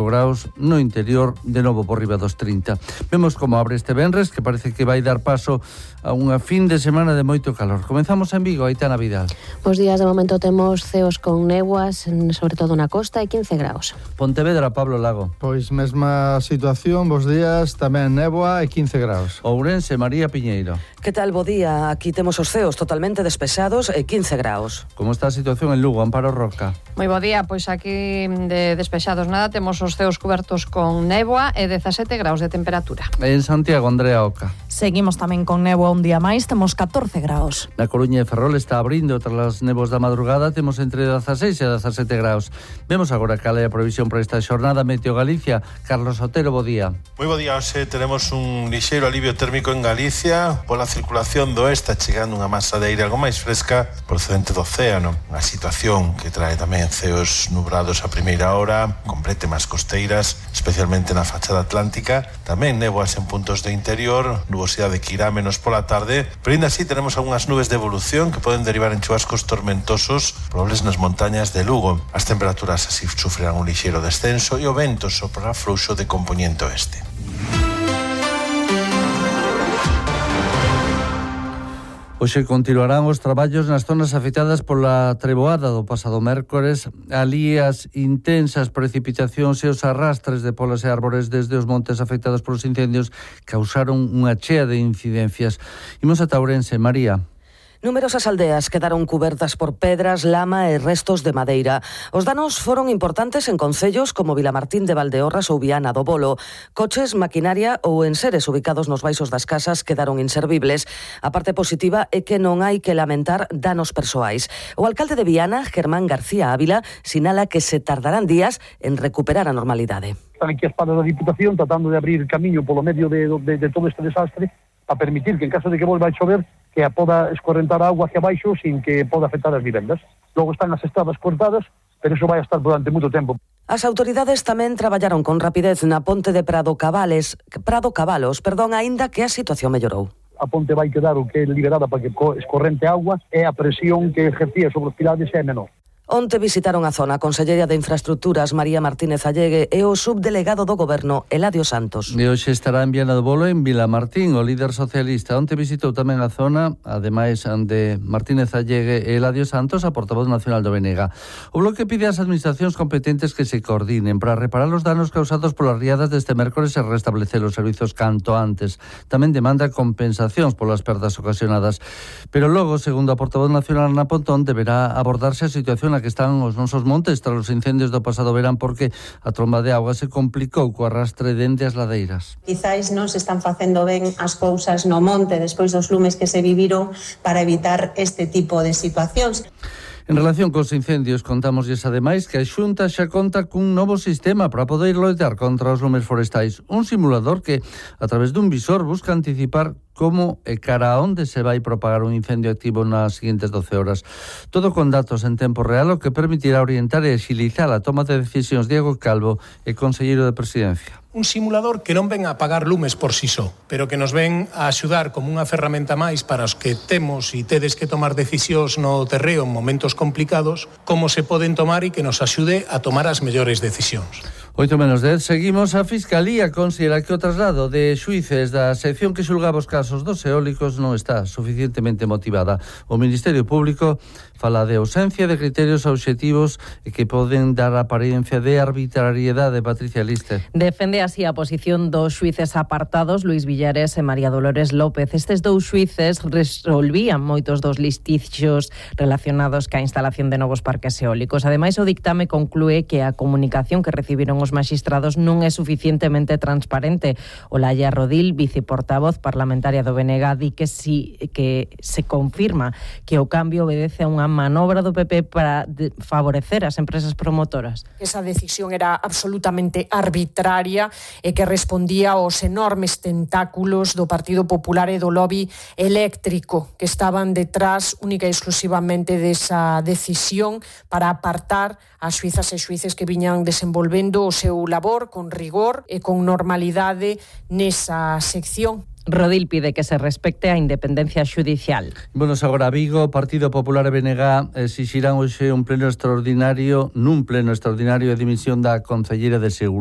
graus, no interior de novo por riba dos 30. Vemos como abre este venres, que parece que vai dar paso a unha fin de semana de moito calor. Comenzamos en Vigo, Aitana Vidal. Os días de momento temos ceos con néboas, sobre todo na costa, e 15 graus. Pontevedra, Pablo Lago. Pois mesma situación, bos días, tamén néboa e 15 graus. Ourense, María Piñeiro. Que tal, bo día? Aquí temos os ceos totalmente despexados e 15 graus. Como está a situación en Lugo, Amparo Roca? Moi bo día, pois aquí de despexados nada, temos os ceos cubertos con néboa e 17 graus de temperatura. En Santiago, Andrea Oca. Seguimos tamén con néboa un día máis, temos 14 graus. Na Coruña e Ferrol está abrindo tras as néboas da madrugada, temos entre 16 e 17 graus. Vemos agora cal é a previsión para esta xornada. Meteo Galicia, Carlos Otero, bo día. Moi bo día, hoxe tenemos un lixeiro alivio térmico en Galicia pola circulación do oeste, chegando unha masa de aire algo máis fresca procedente do océano. Unha situación que trae tamén ceos nubrados a primeira hora, con brétemas costeiras, especialmente na fachada atlántica. Tamén néboas en puntos de interior, nubosidade que irá menos pola tarde, pero ainda así tenemos algunhas nubes de evolución que poden derivar en chubascos tormentosos probables nas montañas de Lugo. As temperaturas así sufrirán un lixeiro descenso e o vento soprará fluxo de compoñente oeste. Hoxe continuarán os traballos nas zonas afectadas pola treboada do pasado mércores. Alí as intensas precipitacións e os arrastres de polas e árbores desde os montes afectados polos incendios causaron unha chea de incidencias. Imos a Ourense, María. Numerosas aldeas quedaron cubertas por pedras, lama e restos de madeira. Os danos foron importantes en concellos como Vilamartín de Valdeorras ou Viana do Bolo. Coches, maquinaria ou enseres ubicados nos baixos das casas quedaron inservibles. A parte positiva é que non hai que lamentar danos persoais. O alcalde de Viana, Germán García Ávila, sinala que se tardarán días en recuperar a normalidade. Están aquí as padas da Diputación tratando de abrir camiño polo medio de todo este desastre para permitir que en caso de que volva a chover que poda escorrentar a auga hacia abaixo sin que poda afectar as vivendas. Logo están as estradas cortadas, pero iso vai estar durante moito tempo. As autoridades tamén traballaron con rapidez na ponte de Prado Cabalos, aínda que a situación mellorou. A ponte vai quedar o que é liberada para que escorrente auga e a presión que ejercía sobre os pilares é menor. Onte visitaron a zona a conselleira de Infraestructuras María Martínez Allegue e o subdelegado do Goberno Eladio Santos. E hoxe estará en Viana do Bolo en Vilamartín, o líder socialista. Onte visitou tamén a zona, ademais de Martínez Allegue e Eladio Santos, a portavoz nacional do BNG. O Bloque pide ás administracións competentes que se coordinen para reparar os danos causados polas riadas deste mércores e restablecer os servizos canto antes. Tamén demanda compensacións polas perdas ocasionadas. Pero logo, segundo a portavoz nacional Ana Pontón, deberá abordarse a situación que están os nosos montes tras os incendios do pasado verán porque a tromba de auga se complicou co arrastre dende as ladeiras. Quizais non se están facendo ben as cousas no monte despois dos lumes que se viviron para evitar este tipo de situacións. En relación cos incendios, contámoslles ademais que a Xunta xa conta cun novo sistema para poder loitar contra os lumes forestais. Un simulador que, a través dun visor, busca anticipar como e cara a onde se vai propagar un incendio activo nas seguintes 12 horas. Todo con datos en tempo real, o que permitirá orientar e agilizar a toma de decisións. Diego Calvo, e conselleiro de Presidencia. Un simulador que non ven a apagar lumes por si só, pero que nos ven a axudar como unha ferramenta máis para os que temos e tedes que tomar decisións no terreo en momentos complicados, como se poden tomar e que nos axude a tomar as mellores decisións. 8:10, seguimos. A Fiscalía considera que o traslado de xuíces da sección que xulgaba os casos dos eólicos non está suficientemente motivada. O Ministerio Público fala de ausencia de criterios obxectivos e que poden dar apariencia de arbitrariedade. Patricia Lister. Defende así a posición dos xuíces apartados Luis Villares e María Dolores López. Estes dous xuíces resolvían moitos dos litixios relacionados ca instalación de novos parques eólicos. Ademais, o dictame conclúe que a comunicación que recibiron os magistrados non é suficientemente transparente. Olaya Rodil, viceportavoz parlamentaria do BNG, di que se confirma que o cambio obedece a unha manobra do PP para favorecer as empresas promotoras. Esa decisión era absolutamente arbitraria e que respondía aos enormes tentáculos do Partido Popular e do lobby eléctrico que estaban detrás única e exclusivamente desa decisión para apartar as xuizas e xuíces que viñan desenvolvendo o seu labor con rigor e con normalidade nesa sección. Rodil pide que se respecte a independencia xudicial. Bueno, agora Vigo, Partido Popular e BNG exixirán hoxe un pleno extraordinario, nun pleno extraordinario de dimisión da concelleira de Seguridade.